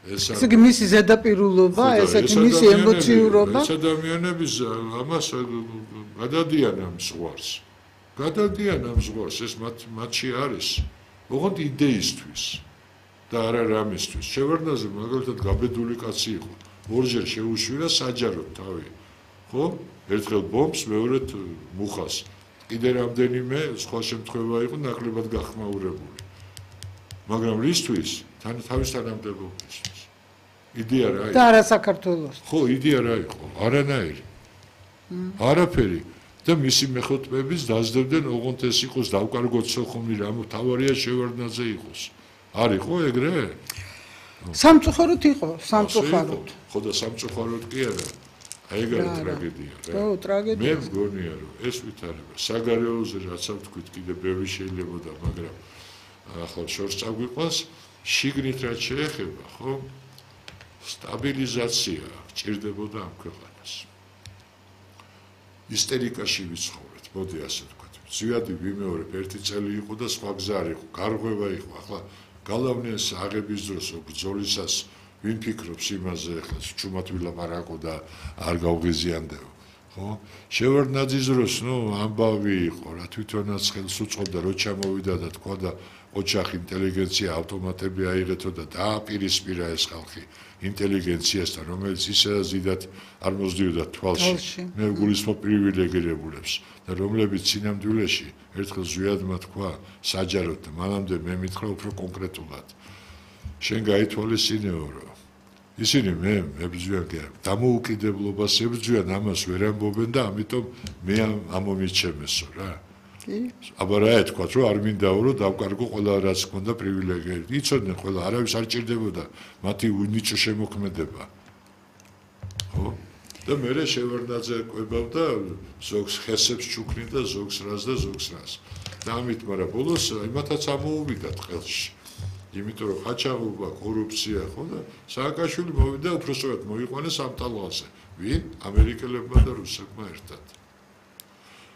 ესე იგი მისი ზედაპირულობა, ესე იგი მისი ემოციურობა ეს ადამიანების ამას გადადიან ამ ზღვარს. გადადიან ამ ზღვარს, ეს მათში არის. ოღონდ იდეისთვის და არა რამისთვის. შევარდნაძე მაგალითად გაბედული კაცი იყო. ორჯერ შეუშვირა საჯაროდ თავი. ხო? ერთხელ ბომბს, მეორედ მუხას. კიდე რამდენიმე სხვა შემთხვევა იყო ნაკლებად გახმაურებული. მაგრამ რისთვის? თავის თანამდებობისთვის. იდეა რა იყო? და არა საქართველოს. ხო, იდეა რა იყო? არანაირი. არაფერი. და მისი მეხუთბების დაძდებდნენ, ოღონდ ეს იყოს დავკარგოთ სოხუმი, რა თავარია შევარდნაძე იყოს. არ იყო ეგრე? სამწუხაროდ იყო, სამწუხაროდ. ხო და სამწუხაროდ კი არა. აი ეგ არის ტრაგედია რა. ხო, ტრაგედია. მე მგონია რომ ეს ვითარება საგარეოზე რაც ვთქვით კიდე ბევრი შეიძლებოდა, მაგრამ ახლა შორს წაგვიყვანს შიგნით რაც შეეხება, ხო? სტაბილიზაცია ჭირდებოდა ამ ქვეყანას. ისტერიკაში ვიცხოვრეთ, მოდი ასე ვთქვათ. ზვიადი ვიმეორებ, ერთი წელი იყო და სხვა გზა არ იყო, გარღვევა იყო. ახლა გალავნეს აღების დროს ბრძოლისას ვინ ფიქრობს იმაზე, ახლა ჩუმად ვილაპარაკო და არ გავღიზიანდეო. ხო? შევარდნაძის დროს, ამბავი იყო, რა თვითონაც ხელს უწყობდა, რო ჩამოვიდა და თქვა და ოჯახი ინტელიგენცია ავტომატები აიღეთო და დააპირისპირა ეს ხალხი ინტელიგენციასთან, რომელიც ისედაც დიდად არ მოსდიოდა თვალში. მე გულისხმობ პრივილეგირებულებს და რომლებიც სინამდვილეში ერთხელ ზვიადმა თქვა საჯაროდ და მანამდე მე მითხრა უფრო კონკრეტულად. შენ გაითვალისწინეო, რომ ისინი მე ებრძვიან დამოუკიდებლობას ებრძვიან, ამას ვერ ამბობენ და ამიტომ მე ამომიჩემესო რა. აბა რა ეთქვათ, რომ არ მინდაო, რომ დავკარგო ყველა რაც ჰქონდა პრივილეგიები. იცოდნენ ყველა, არავის არ ჭირდებოდა მათი უნიჭო შემოქმედება. ხო? და მერე შევარდნაძე ყვებავდა ზოგს ხესებს ჩუქნიდა, ზოგს რას და ზოგს რას. და ამით, მაგრამ ბოლოს იმათაც ამოუვიდათ ხელში. იმიტომ რომ ხაჩაღობა, კორუფცია, ხო და სააკაშვილი მოვიდა უბრალოდ მოიყვანეს ამ ტალღაზე. ვინ? ამერიკელებმა და რუსებმა ერთად.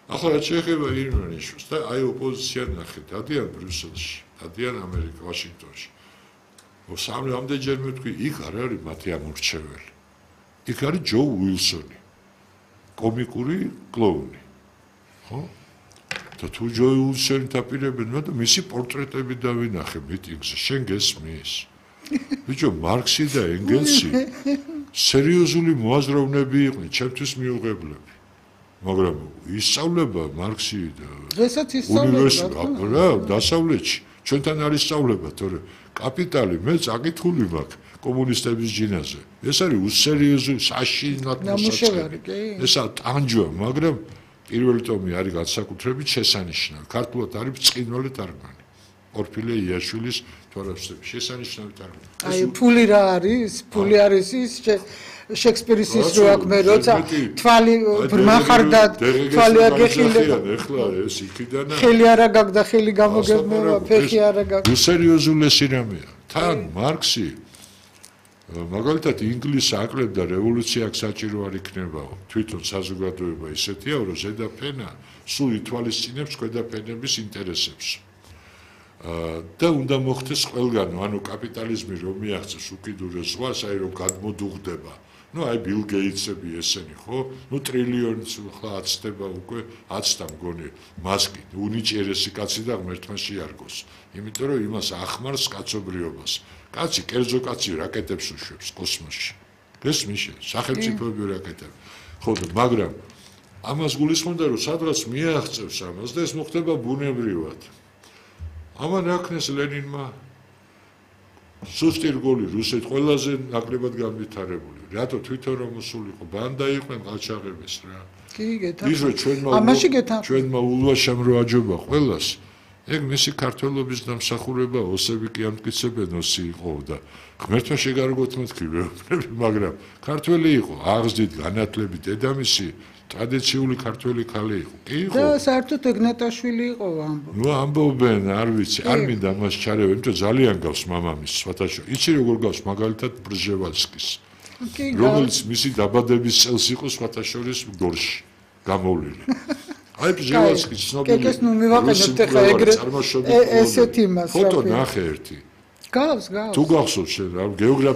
ახლა რაც შეეხება ირანიშვილს და აი ოპოზიცია ნახეთ, დადიან ბრიუსელში, დადიან ამერიკა, ვაშინგტონში. რამდენჯერმე ვთქვი, იქ არ არის მათი ამორჩეველი. იქ არის ჯო უილსონი, კომიკური კლოუნი. ხო? და თუ ჯო უილსონი დაპირებენ, და მისი პორტრეტები დავინახე მიტინგზე, შენ გესმის? ბიჭო, მარქსი და ენგელსი სერიოზული მოაზროვნეები იყვნენ, ჩემთვის მიუღებლები. მაგრამ ისწავლება მარქსი და დღესაც ისწავლება რა დასავლეთში ჩვენთან არის სწავლება თორე კაპიტალი მე წაკითხული მაქვს კომუნისტების ჯინაზე ეს არის უსერიოზული საშინლად მოსაწყენი ესა ტანჯვა მაგრამ პირველი ტომი არის განსაკუთრებით შესანიშნავი ქართულად არის ბრწყინვალე თარგმანი ორფილე იაშვილის თორემსები შესანიშნავი თარგმანი აი ფული რა არის ფული არის ის შექსპირის ის რო აქვს მე როცა თვალი ბრმახარდა თვალი აგეხილება ეხლა ეს იქიდან ხელი არა გაქვს და ხელი გამოგებნება ფეხი არა გაქვს უსერიოზულესი რამეა თან მარქსი მაგალითად ინგლისს აკლებდა რევოლუცია საჭირო არ იქნებაო თვითონ საზოგადოება ისეთია რომ ზედა ფენა სულ ითვალისწინებს ქვედა ფენების ინტერესებს და უნდა მოხდეს ყველგანო ანუ კაპიტალიზმი რომ მიაღწევს უკიდურეს ზღვას აი რომ გადმოდუღდება აი ბილ გეიტსები ესენი ხო ტრილიონიც ხლა აცდება უკვე აცდა მგონი მასკი უნიჭიერესი კაცი და ღმერთმა შეარგოს იმიტომ რომ იმას ახმარს კაცობრიობას კაცი კერძო კაცი რაკეტებს უშვებს კოსმოსში გესმის სახელმწიფოები რაკეტები ხო მაგრამ ამას გულისხმობდა რომ სადღაც მიაღწევს ამას და ეს მოხდება ბუნებრივად ამან აქნეს ლენინმა სუსტი რგოლი რუსეთ ყველაზე ნაკლებად განვითარებული რატო თვითონ რომ მოსულიყო ბანდა იყვნენ ყაჩაღების რა კი გეთან ამაში გეთან ჩვენმა ულვაშამ რო აჯობა ყველას ეგ მისი ქართველობის დამსახურება ოსები კი ამტკიცებენ ოსი იყო და ღმერთმა შეგარგოთ მეთქი მაგრამ ქართველი იყო აღზრდით განათლებით დედამისი ტრადიციული ქართველი ქალი იყო. კი იყო. და საერთოდ ეგნატაშვილი იყო ამბობენ. ამბობენ, არ ვიცი, არ მინდა მას ჩარევენ, იმიტომ ძალიან გავს მამამის სვათაშო. იცი როგორ გავს მაგალითად ბრჟევალსკის. რომელიც მისი დაბადების წელს იყო სვათაშორის გორში გამოვლილი. აი ბრჟევალსკი ცნობილი. კეკეს ნუ მივაყენებთ ახლა ეგრე ესეთი მას. ფოტო ნახე ერთი. გავს. თუ გახსოვს შენ რა გეოგრაფია